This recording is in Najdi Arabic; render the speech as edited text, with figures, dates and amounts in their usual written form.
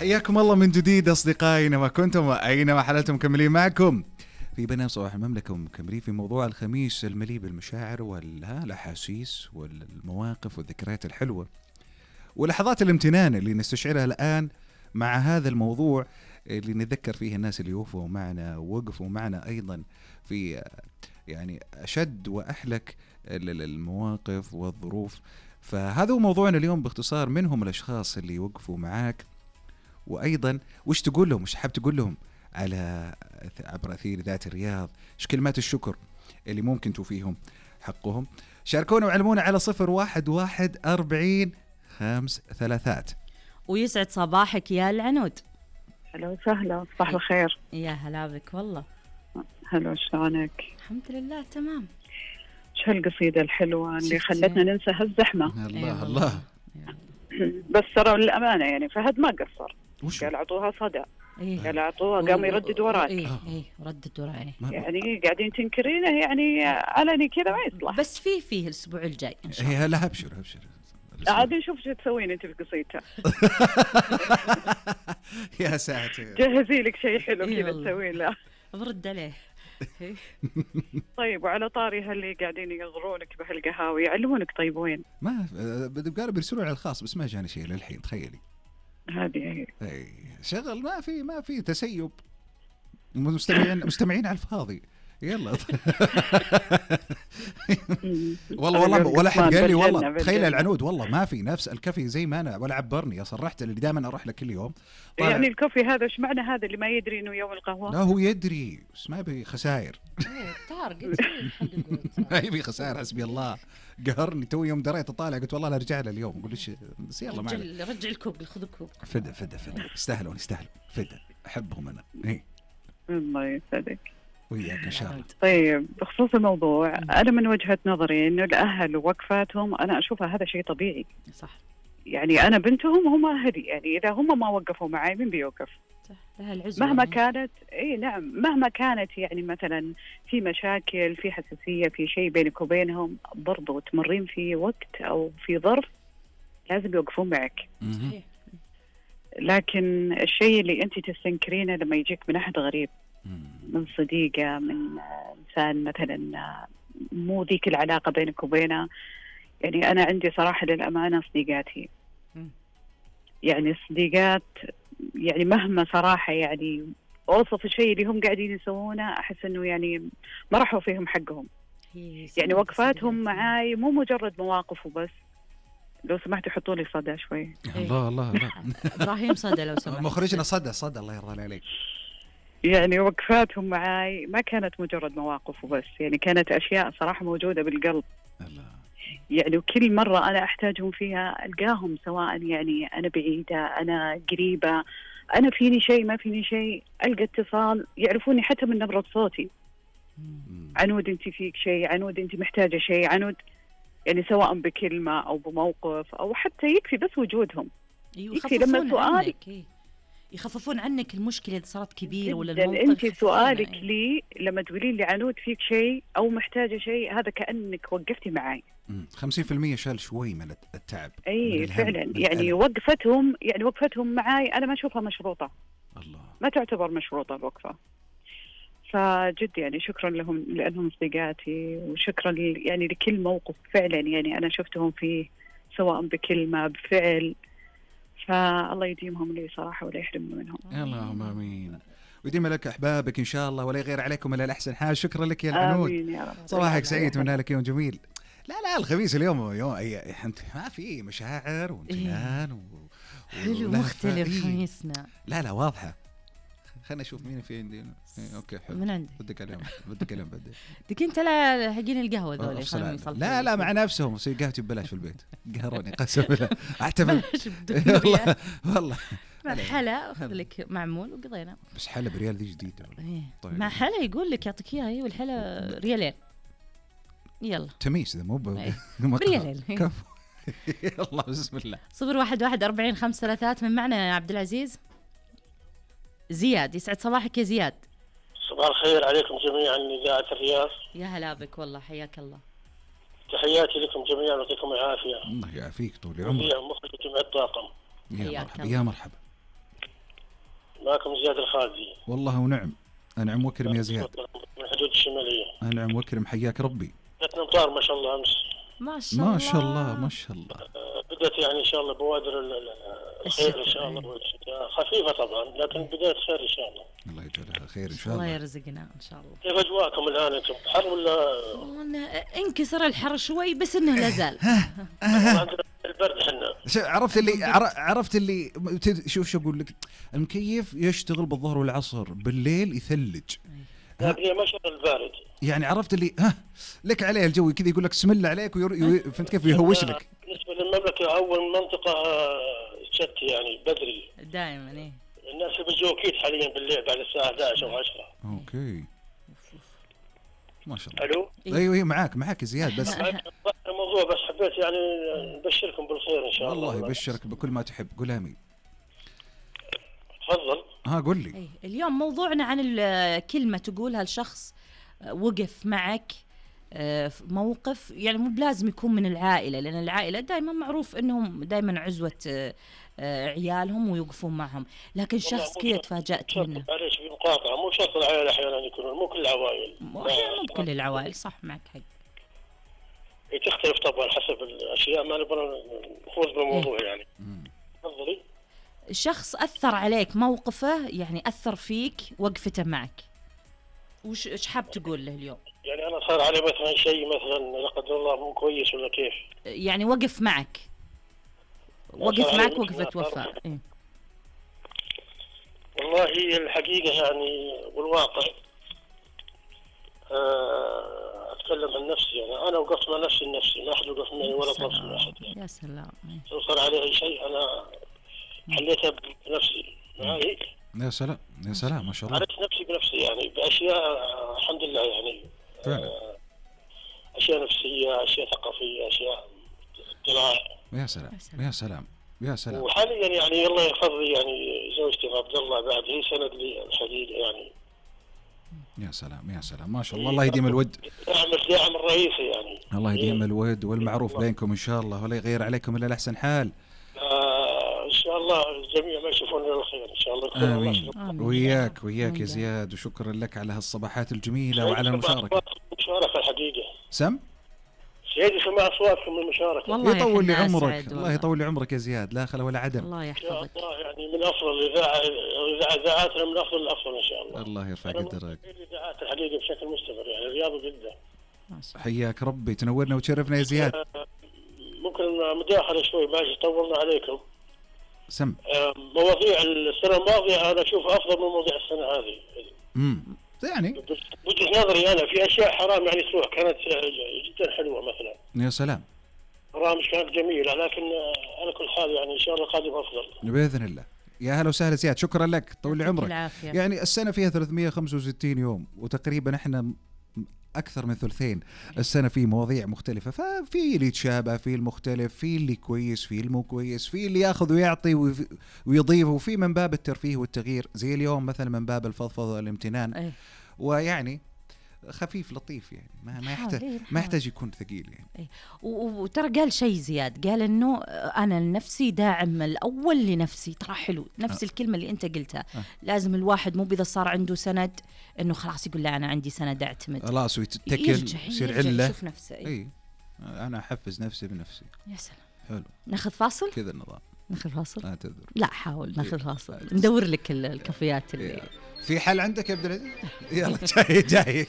حياكم الله من جديد أصدقائي، ما كنتم وأينما حللتم مكملين معكم في برنامج صباح المملكة، ومكملين في موضوع الخميس المليء بالمشاعر والأحاسيس والمواقف والذكريات الحلوة ولحظات الامتنان اللي نستشعرها الآن مع هذا الموضوع اللي نتذكر فيه الناس اللي وقفوا معنا ووقفوا معنا أيضا في يعني أشد وأحلك المواقف والظروف. فهذا هو موضوعنا اليوم باختصار، منهم الأشخاص اللي وقفوا معاك، وأيضا وش تقول لهم، وش حاب تقول لهم على عبر أثير ذات الرياض، ايش كلمات الشكر اللي ممكن توفيهم حقهم. شاركونا وعلمونا على 01144053. ويسعد صباحك يا العنود. هلا وسهلا، صباح الخير. يا هلا بك والله. هلا، شلونك؟ الحمد لله تمام. شو هالقصيدة الحلوة اللي خلتنا ننسى هالزحمة. الله الله. بس ترى للأمانة يعني فهد ما قصر، قال أعطوها صدى، قال أعطوها، قام يردد وراي. ردد وراي يعني قاعدين تنكرينه يعني علني كذا ما يصلح. بس فيه الأسبوع الجاي إن شاء الله. لا أبشر عاد نشوف شو تسوين انت في قصيدتها. يا ساتر، جهزي لك شيء حلو كذا تسوين له، برد عليه. طيب، وعلى طاري هاللي قاعدين يغرونك بهالقهاوي يعلمونك طيب وين؟ ما قالوا بيرسلوا على الخاص بس ما جاني شيء للحين. تخيلي هذه اي شغل ما في تسيب، مستمعين على الفاضي. يلا والله ولا حد قال لي والله. تخيل العنود والله ما في نفس الكافي زي ما انا، ولا عبرني. صرحت اللي دائما اروح له كل يوم. يعني الكوفي هذا ايش معنى؟ هذا اللي ما يدري انه يوم القهوه؟ لا هو يدري بس ما يبي خسائر. طار قلت ما يبي خسائر. حسبي الله، قهرني تو يوم دريت اطالع قلت والله لا ارجع له اليوم. اقول ايش بس يلا معنا، رجع الكوب، خذ الكوب. فدا يستاهلون فدا، احبهم انا. الله يسعدك وياك ان شاء الله. طيب، بخصوص الموضوع، انا من وجهة نظري انه الاهل ووقفاتهم انا اشوفها هذا شيء طبيعي. صح. يعني انا بنتهم، هم اهلي، يعني اذا هم ما وقفوا معي من بيوقف؟ صح، لها العزوة مهما يعني. كانت نعم، مهما كانت يعني مثلا في مشاكل، في حساسية، في شيء بينك وبينهم، برضو تمرين في وقت او في ظرف لازم يوقفون معك. صحيح. لكن الشيء اللي انت تستنكرينه لما يجيك من احد غريب، من صديقة، من إنسان مثلا مو ذيك العلاقة بينك وبينه. يعني أنا عندي صراحة للأمانة صديقاتي، يعني صديقات يعني مهما صراحة يعني أوصف الشيء اللي هم قاعدين يسوونه أحس إنه يعني ما راحوا فيهم حقهم. يعني وقفاتهم معاي مو مجرد مواقف وبس. لو سمحت حطوا لي صدى شوي. الله إبراهيم صدى لو سمحت. مخرجنا صدى الله يرضى عليك. يعني وقفاتهم معاي ما كانت مجرد مواقف وبس، يعني كانت أشياء صراحة موجودة بالقلب. الله. يعني وكل مرة أنا أحتاجهم فيها ألقاهم، سواء يعني أنا بعيدة، أنا قريبة، أنا فيني شيء ما فيني شيء، ألقى اتصال، يعرفوني حتى من نبرة صوتي. عنود أنت فيك شيء، عنود أنت محتاجة شيء، عنود، يعني سواء بكلمة أو بموقف أو حتى يكفي بس وجودهم. يكفي لما سؤالك يخففون عنك المشكلة إذا صارت كبيرة ولا الموقف. أنت سؤالك لي لما تقولين لي عنود فيك شيء أو محتاجة شيء، هذا كأنك وقفتي معي. 50% شال شوي من التعب. أي فعلا. يعني وقفتهم معي أنا ما أشوفها مشروطة. الله. ما تعتبر مشروطة الوقفة. فجد يعني شكرا لهم لأنهم صديقاتي، وشكرا يعني لكل موقف فعلا يعني أنا شفتهم فيه، سواء بكلمة بفعل. فالله يديمهم لي صراحة ولا يحرمنا منهم. اللهم آمين. ويديم لك أحبابك إن شاء الله، ولا يغير عليكم إلا الأحسن حال. شكرا لك يا العنود. آمين يا رب. صباحك سعيد، من لك يوم جميل. لا الخميس اليوم ما في مشاعر وامتنان حلو مختلف خميسنا. لا واضحة. خلنا نشوف مين في عندي. اوكي حلو. من عندي بدك اليوم ديك انت لا حقين القهوه ذولي لا مع نفسهم قهوتي ببلاش في البيت. قهروني قسم بالله. احتفل والله مع حلا اخذ لك معمول وقضينا. بس حلا بريال ذي جديده. طيب. مع حلا يقول لك يعطيك اياها هي، والحلا ريالين. يلا تميس اذا مو بريالين. كفو. يلا بسم الله. 01144053 من معنا يا عبد العزيز. زياد، يسعد صباحك يا زياد. صباح الخير عليكم جميعا من إذاعة الرياض. يا هلا بك والله، حياك الله. تحياتي لكم جميعا ويعطيكم العافية. الله يعافيك طول عمرك. مخرج جمع الطاقم. يا مرحبا. معكم زياد الخالدي. والله ونعم، أنعم وكرم يا زياد. من الحدود الشمالية. أنعم وكرم، حياك ربي. بدأت نمطار ما شاء الله أمس. ما شاء الله ما شاء الله ما شاء الله. بدأت يعني إن شاء الله بوادر الخير إن شاء الله، خفيفة طبعا لكن بداية خير إن شاء الله. الله يجعلها خير إن شاء الله الله. يرزقنا إن شاء الله. كيف أجواءكم الآن أنتم؟ حر ولا؟ انكسر الحر شوي بس إنه لازال. عندنا البرد حنا. عرفت اللي شوف أقول لك، المكيف يشتغل بالظهر والعصر، بالليل يثلج. لكن هي ما شاء الله البارد. يعني عرفت اللي لك عليه الجو كذا، يقول لك بسم الله عليك فهمت كيف يهوش لك. بالنسبة للمملكة أول منطقة شت يعني بدري. دائما إيه. الناس بيجوا أكيد حاليا بالليل بعد الساعة 11 أو 10. اوكي ما شاء الله. ألو. ايوه معاك زياد، بس الموضوع بس حبيت يعني نبشركم بالخير إن شاء الله. الله يبشرك بكل ما تحب. قول آمين. تفضل. قول لي. إيه. اليوم موضوعنا عن الكلمة تقولها لشخص وقف معك في موقف، يعني مو بلازم يكون من العائلة، لأن العائلة دائما معروف أنهم دائما عزوة عيالهم ويوقفون معهم، لكن شخص كذا تفاجأت منه. معليش في مقاطعة، مو شرط العائلة أحيانا يكونون، مو كل العوائل. مو كل العوائل، صح معك حق. تختلف طبعا حسب الأشياء، ما نبغى نفوز بالموضوع يعني. تفضلي. شخص أثر عليك موقفه، يعني أثر فيك وقفته معك، وش حاب تقول له اليوم؟ يعني أنا صار علي مثلا شيء مثلا لا قدر الله مو كويس ولا كيف؟ يعني وقف معك وقفة وفاء. إيه؟ والله الحقيقة يعني والواقع أتكلم عن نفسي، يعني أنا وقفت مع نفسي لنفسي، ما أحد وقف معي ولا طرف من أحد. يا سلام. لو صار علي أي شيء أنا حليتها بنفسي. معي. يا سلام ما شاء الله. عرفت نفسي بنفسي يعني بأشياء الحمد لله يعني. أشياء نفسية، أشياء ثقافية، أشياء اطلاع. يا سلام. وحاليا يعني الله يحفظ لي يعني زوجتي عبد الله، بعد هي سند لي الحقيقة يعني. يا سلام ما شاء الله. الله يديم الود. الداعم الرئيسي يعني. الله يديم الود والمعروف بينكم إن شاء الله، ولا يغير عليكم إلا الأحسن حال. إن شاء الله الجميع ما يشوفون إلا الخير إن شاء الله. آمين. وياك يا زياد، وشكرا لك على هالصباحات الجميلة وعلى المشاركة. الحقيقة. سم؟ سيدي سمع أصواتكم من المشاركة. والله يطول لي عمرك. الله يطول لي عمرك يا زياد، لا خلا ولا عدم. الله يحفظك. الله يعني من أفضل إذاعاتنا، من أفضل الأفضل إن شاء الله. الله يرفع قدرك. الإذاعات الحقيقة بشكل مستمر يعني رياضة جدا. حياك ربي، تنورنا وتشرفنا يا زياد. ممكن مداخلة شوي ماشي، طولنا عليكم. سم. مواضيع السنة الماضية أنا أشوفها أفضل من مواضيع السنة هذه. يعني وجهة نظري أنا في أشياء حرام يعني تروح كانت جدا حلوة مثلا. يا سلام. برامج كانت جميلة، لكن على كل حال يعني إن شاء الله القادم أفضل بإذن الله. يا هلا وسهلا زياد، شكرا لك، طول لي عمرك. العافية. يعني السنة فيها 365 يوم، وتقريبا احنا أكثر من ثلثين السنة في مواضيع مختلفة، ففي اللي يتشابه، في المختلف، في اللي كويس، في المو كويس، في اللي ياخذ ويعطي ويضيف، وفي من باب الترفيه والتغيير، زي اليوم مثلا من باب الفضفضة والامتنان. ويعني خفيف لطيف يعني ما يحتاج يكون ثقيل يعني. وترى قال شيء زياد، قال انه انا لنفسي داعم الاول لنفسي. ترى حلو نفس الكلمه اللي انت قلتها. لازم الواحد مو اذا صار عنده سند انه خلاص يقول لا انا عندي سند اعتمد، خلاص ويتكل يصير عله. يشوف نفسه. اي انا احفز نفسي بنفسي. يا سلام. حلو. ناخذ فاصل كذا النظام. ناخذ فاصل. لا تذر. لا حاول ناخذ فاصل. ندور لك الكافيات اللي في حل عندك يا عبد العزيز؟ يلا جاي